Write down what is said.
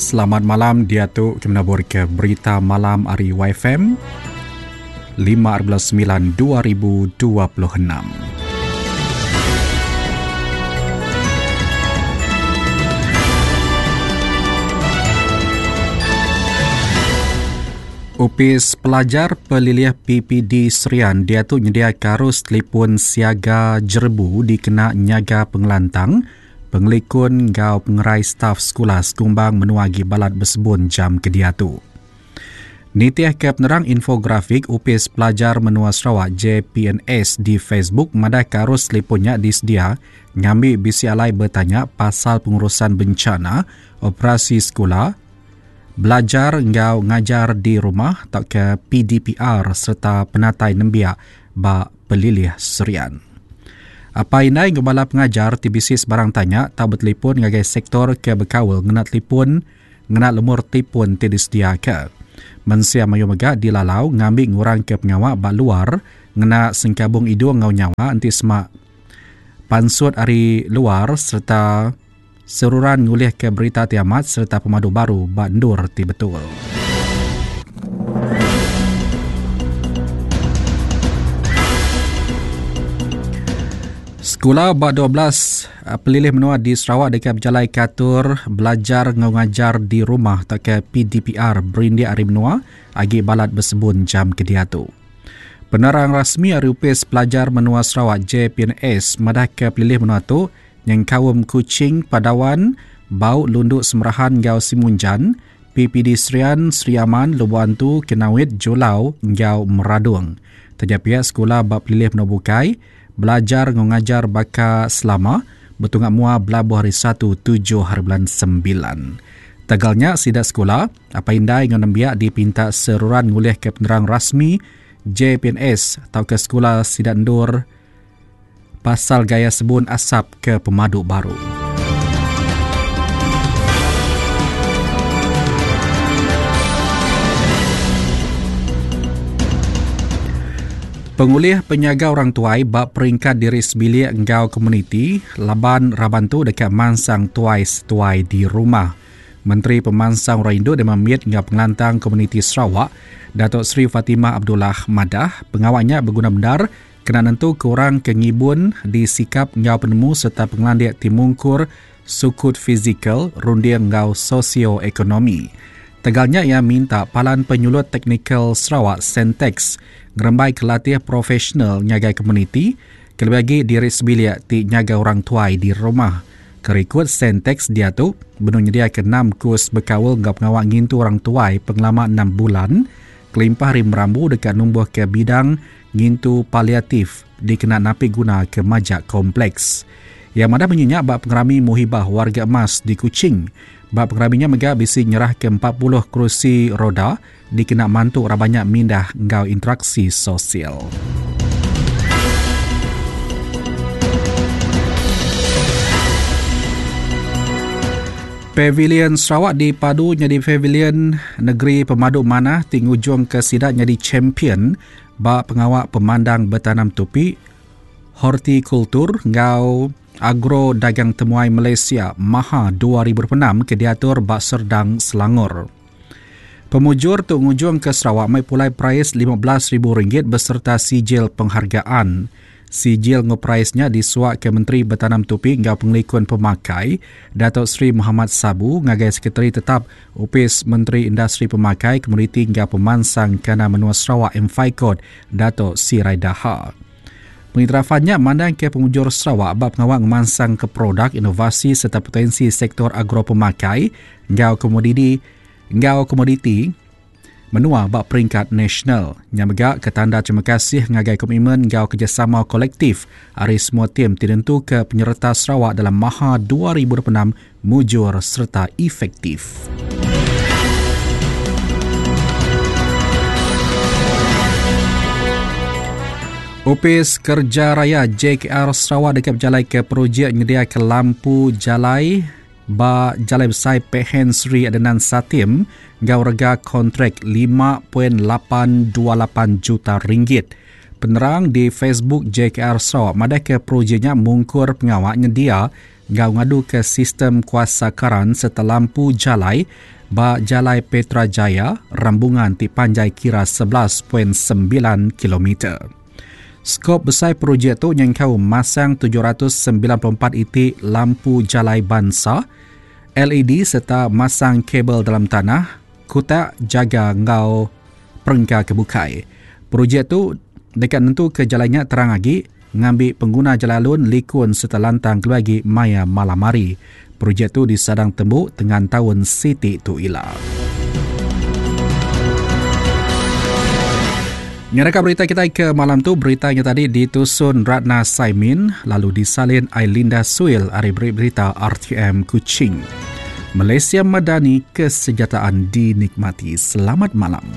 Selamat malam diatu ke menabur ke berita malam ari YFM 5 9 2026. Opis Pelajar Pelilih PPD Serian diatu nyediaka arus telefon siaga jerebu dikena nyaga pengelantang, pengelikun enggau pengerai staf sekula sekumbang menua agi balat besebun jam ke diatu. Nitihka penerang infografik Opis Pelajar Menua Sarawak JPNS di Facebook madahka arus telefon nya disedia ngambi bisi alai betanya pasal pengurusan bencana, operasi sekula, Belajar enggau ngajar di rumah tauka PDPR sereta penatai nembiak ba pelilih Serian. Apai indai enggau bala pengajar ti bisi sebarang tanya tau betelipon ngagai sektor ke bekaul ngena telipon ngena lumur telipon ti disediaka. Mensia mayuh mega dilalau ngambi ngurangka pengawa ba luar ngena sengkabung idung enggau nyawa enti sema pansut ari luar sereta Seruran ngulihka berita ti amat sereta pemadu baru ba endur ti betul. Sekula ba 12 eh, pelilih menua di Sarawak deka bejalaika atur belajar enggau ngajar di rumah tauka PDPR berindik ari menua agi balat besebun jam ke diatu. Penerang rasmi ari Opis Pelajar Menua Sarawak JPNS madahka pelilih menua tu nyengkaum Kuching, Padawan, Bau, Lundu, Semerahan enggau Simunjan, PPD Serian, Sri Aman, Lubok Antu, Kenawit, Julau enggau Meradong. Taja pia sekula ba pelilih menua bukai belajar enggau ngajar baka selama betunga mua belabuh hari Satu tujuh haribulan Sembilan. Tegal nya sida sekula, apai indai enggau nembiak dipinta seruran ngulihka penerang rasmi JPNS tauka sekula sida endur pasal gaya sebun asap ke pemadu baru. Pengulih penyaga orang tuai ba peringkat diri sebilik enggau komuniti laban raban tu deka mansang tuai setuai di rumah. Menteri Pemansang Orang Indu Dema Mit enggau Pengelantang Komuniti Sarawak, Datuk Seri Fatimah Abdullah madah, pengawa nya beguna bendar Kena nentuka orang ke ngibun disikap enggau penemu sereta pengelandik ti mungkur sukut fizikal, runding enggau sosio-ekonomi. Tegal nya iya minta Palan Penyulut Teknikal Sarawak, Centexs, ngerembaika latih profesional ngagai komuniti, kelebih agi diri sebilik ti nyaga orang tuai di rumah. Ke rikut Centexs diatu benung nyediaka enam kus bekaul enggau pengawa ngintu orang tuai pengelama enam bulan kelimpah ari merambu deka numbuhka bidang Ngintu paliatif dikena napi guna ke majak kompleks. Iya madah munyi nya ba pengerami Muhibah Warga Emas di Kuching. Ba pengerami nya mega bisi nyerahka 40 kerusi roda dikena mantu raban nya mindah enggau interaksi sosial. Pavilion Sarawak dipadu nyadi pavilion negeri pemadu manah ti ngujungka sida nyadi champion Ba pengawa pemandang betanam tupi, hortikultur enggau agro dagang temuai Malaysia, Maha 2026 ke diatur ba Serdang, Selangor. Pemujur tu ngujungka Sarawak mai pulai perais RM15,000 besereta sijil penghargaan. Sijil enggau perais nya disuaka Menteri Betanam Tupi enggau Pengelikun Pemakai, Dato Sri Mohamad Sabu ngagai Sekretari Tetap Opis Menteri Industri Pemakai, Komoditi enggau Pemansang Kandang Menua Sarawak MFICOD, Dato Sirai Daha. Pengiktirafan nya mandangka pemujur Sarawak ba pengawa ngemansangka produk, inovasi sereta potensi sektor agro-pemakai enggau komodidi enggau komoditi menua ba peringkat nasional. Nya mega ke tanda terima kasih ngagai komitmen enggau kerejasama kolektif ari semua tim ti nentuka penyereta Sarawak dalam Maha 2026 mujur sereta efektif. Opis Kerja Raya JKR Sarawak deka bejalaika projek nyediaka lampu jalai Ba Jalai Besai Pehen Sri Adenan Satim enggau rega kontrak 5.828 juta ringgit. Penerang di Facebook JKR Sarawak madahka projek nya mungkur pengawa nyendia enggau ngaduka sistem kuasa karan sereta lampu jalai ba Jalai Petra Jaya, rambungan ti panjai kira 11.9 kilometer. Skop besai projek tu nyengkaum masang 794 iti lampu jalai bansa, LED sereta masang kabel dalam tanah, kutak jaga enggau perengka ke bukai. Projek tu deka nentuka jalai nya terang agi ngambi pengguna jalai alun likun sereta lantang kelebih agi maya malam hari. Projek tu disadang tembu tengan taun siti tu ila. Nyeraka berita kitai ke malam tu, berita nya tadi ditusun Ratna Saimin lalu disalin Ailinda Suil ari Berita RTM Kuching. Malaysia Madani kesejahteraan dinikmati. Selamat malam.